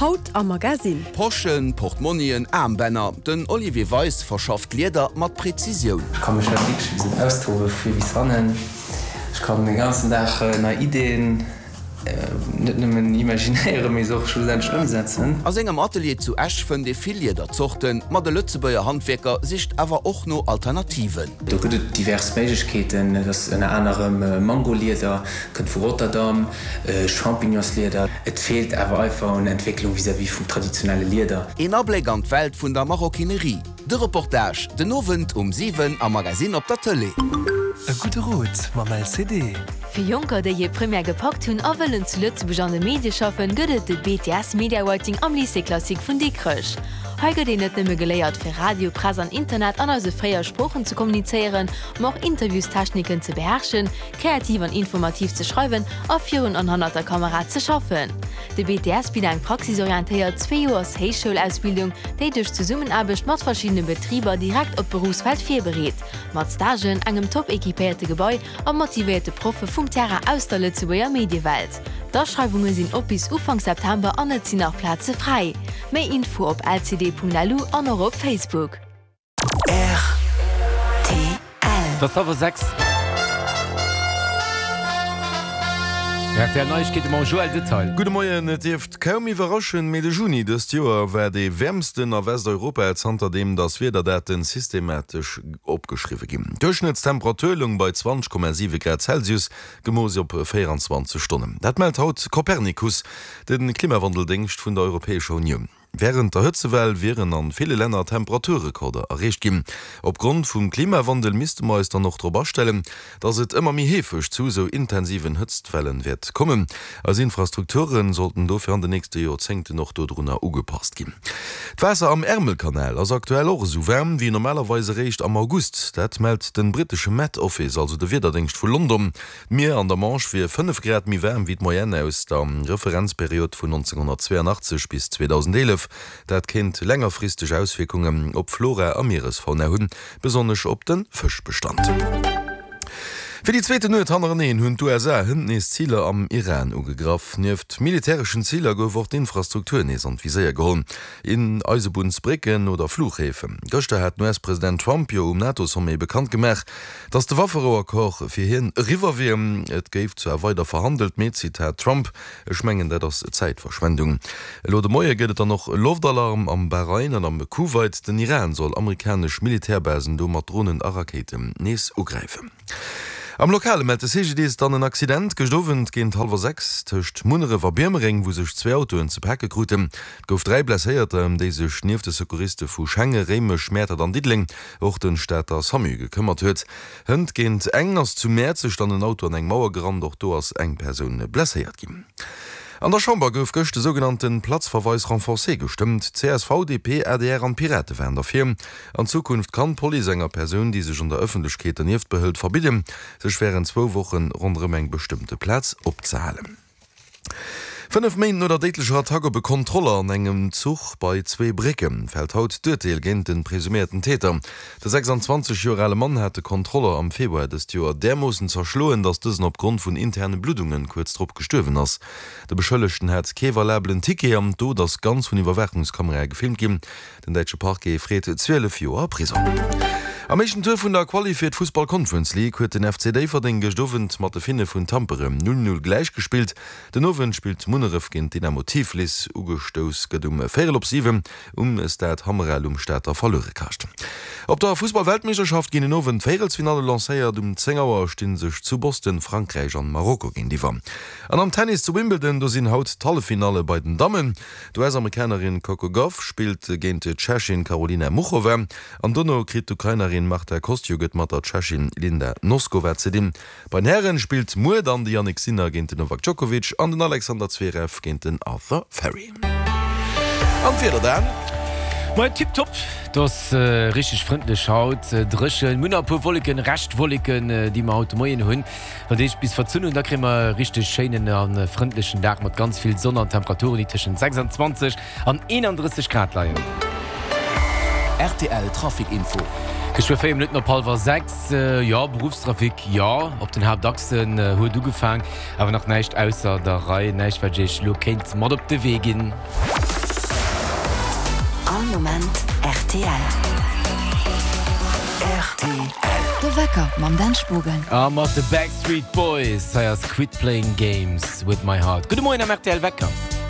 Haut am Magasinn. Poschen, Portmonnien, Aarmbänner, den Olivier Weis verschafft Lieder mat Präzisioun. Ech ka mech hei wierklech e bëssen austobe vu vir bis hannen. Ech kann de ganzen Dag nei Ideen net nëmmen imaginéieren, mee se och schlussendlech ëmsetzen. A sengem Atelier zu Esch fënnt ee vill Liederzorten, ma de Lëtzebuerger Handwierker sicht awer och no Alternativen. Do gëtt et divers Méiglechkeeten. Et ass ënner anerem Mangolieder, kënnt vu Rotterdam, Champignonslieder. Et feelt awer einfach un Entwécklung vis-à-vis vum traditionelle Lieder. Een Abléck an d'Welt vun der Maroquinerie. De Reportage den Owend um 7 am Magasinn op der Tëlee. E gudde Rot mam LCD. Fir Jonker, déi hir Première gepackt hunn a wëllen zu Lëtzebuerg an de Medie schaffen, gëtt et de BTS Media Writing am Lycée Classique vun Dikrech. Hei gëtt een net nëmme geléiert, fir Radio, Press an Internet an eise 4 Sproochen ze kommunizéieren, ma och Interviewstechniken ze beherrschen, kreativ an informativ ze schreiwen a virun an hannert der Kamera ze schaffen. De BTS bitt eng praxisorientéiert zweejoers Héichschoulausbildung, déi duerch Zesummenaarbecht mat verschiddene Betriber direkt op d'Beruffswelt virbereet. Mat Stagen, engem top equipéierte Gebai a motivéierte Proffe vum Terrain aus der Lëtzebuerger Mediewelt. D'Aschreiwunge sinn op bis Ufank September an et sinn nach Plaze fräi. Méi Info op lcd.lu an och op Facebook. Rtl. Et ass hallwer 6. Rtl Neiegkeete mam Joël Detail. Gudde Moien, Et dierft kaum iwwerraschen, mee de Juni dëst Joer war dee wäermsten a Westeuropa zanterdeem datt Wiederdaten systematesch opgeschriwwe ginn. D'Duerchschnëttstemperatur loung bei 20,7 Grad Celsius, gemooss op 24 Stonnen. Dat mellt haut Copernicus, de Klimawandeldéngscht vun der Europäescher Unioun. Wärend der Hëtzewell wieren an ville Länner Temperaturrekorder erreecht ginn. Opgrond vum Klimawandel misste mer eis dann och drop astellen, dass et ëmmer méi heefeg zu esou intensiven Hëtztwellen wäert kommen. Eis Infrastrukture sollten dofir an de nächste Joerzéngten och dodrunner ugepasst ginn. D'Waasser am Ärmelkanal ass aktuell och esou waarm wéi normalerweis eréischt am August. Dat mellt de brittesche Met Office, also de Wiederdéngscht vu London. D'Mier an der Manche wier 5 Grad méi waarm wéi d'Moyenne aus der Referenzperiod vun 1982 bis 2011. Dat kéint längerfristeg Auswierkungen op Flora a Mieresfauna hunn, besonnesch op de Fëschbestand. Fir déi zweeten Nuet hannereneen hunn d'USA hënt nees Ziler am Iran ugegraff. Nieft militäreschen Ziler gouf och d'Infrastruktur nees an d'Viséier geholl, Eisebunnsbrécken oder Fluchhäfen. Gëschter hat den US-President Trump jo um NATO-Sommet bekannt gemaach, Datt de Wafferouaccord fir hien eriwwer wier. Et géif zwar weider verhandelt, mee, Zitat Trump, Ech mengen, dat ass Zäitverschwendung. Elo de Moie gëtt et dann och Loftalarm am Bahrain an am Kuwait. Den Iran soll amerikanesch Militärbasen do mat Dronen a Rakéiten nees ugräifen. Am Lokale mellt de CGDIS dann en Accident gëscht Owend géint hallwer 6 tëscht Munneref a Biermereng, wou sech zwee Autoen ze pake kruten. Et gouf 3 Blesséierter, ëm déi sech nieft de Secouriste vu Schenge, Réimech, Mäertert an Diddeleng och den Stater Samu gekëmmert huet. Hënt géint eng ass zu Mäerzeg dann en Auto an eng Mauer gerannt, och do ass eng Persoun blesséiert ginn. An der Chamber gouf gëscht de sougenannte Platzverweis renforcé gestëmmt. Csv, DP, adr an d'Pirate waren derfir. An Zukunft kann d'Police enger Persoun, déi sech an der Ëffentlechkeet dernieft behëlt, verbidden, sech wärend zwou Woche ronderëm eng bestëmmte Plaz opzehalen. 5 Méint no der déidlecher Attack op e Kontroller an engem Zuch bei Zweebrécke fält haut d'Urteel géint de presuméierten Täter. De 26 Joer ale Mann hat de Kontroller am Februar dëst Joer därmoossen zerschloen, datt dësen opgrond vun interne Bluddunge kuerz drop gestuerwen ass. De Beschëllegten hat kee valabelen Ticket an d'Dot ass ganz vun Iwwerwaachungskamerae gefilmt ginn. Den däitsche Parquet freet 12 Joer Prisong. Am éischten Tour vun der Quali fir d'Fussball Conference League huet den FC Déifferdeng gëscht Owend mat de Finne vun Tampere 0, 0 gläichgespillt. Den Owend spillt Munneref géint Dynamo Tiflis. Ugestouss gëtt um véierel op 7 um Stade Hammerel um Stater Verluerekascht. Op der Fussball-Weltmeeschterschaft ginn den Owend d'Véierelsfinalle lancéiert. Um 10 Auer sti sech zu Boston Frankräich an Marokko géintiwwer. An am Tennis zu Wimbledon, do sinn haut d'Halleffinalle bei den Dammen. D'US-Amerikanerin Coco Gauff spillt géint d'Tschechin Karolina Muchova an dono kritt d'Ukrainerin Marta Kostyuk et mat der Tschechin Linda Noskova ze dinn. Bei den Hären spillt muer dann de Jannik Sinner géint den Novak Djokovic an den Alexander Zverev géint den Arthur Fery. An d'Wieder dann? Moien, tiptop, et ass richteg frëndlech haut, dréchen, mir hunn nach e puer Wolleken, Reschtwolleken, déi mer haut de Moien hunn. Wann déi sech bis verzunn hunn, da kréie mer e richteg schéinen a frëndlechen Dag mat ganz vill Sonn an Temperaturen, déi tëschent 26 an 31 Grad leien. Rtl Trafic Info. Geschwë 4 Minutten op hallwer 6. Jo, Beruffstrafic, jo, op den Haaptachsen huet ugefaang, awer nach näischt ausser der Rei, näischt wat ech iech elo kéint mat op de Wee ginn. All Moment rtl. Rtl. De Wecker mam Dan Spogen. A mat de Backstreet Boys. Hei ass Quit Playing Games With My Heart. Gudde Moien am rtl Wecker.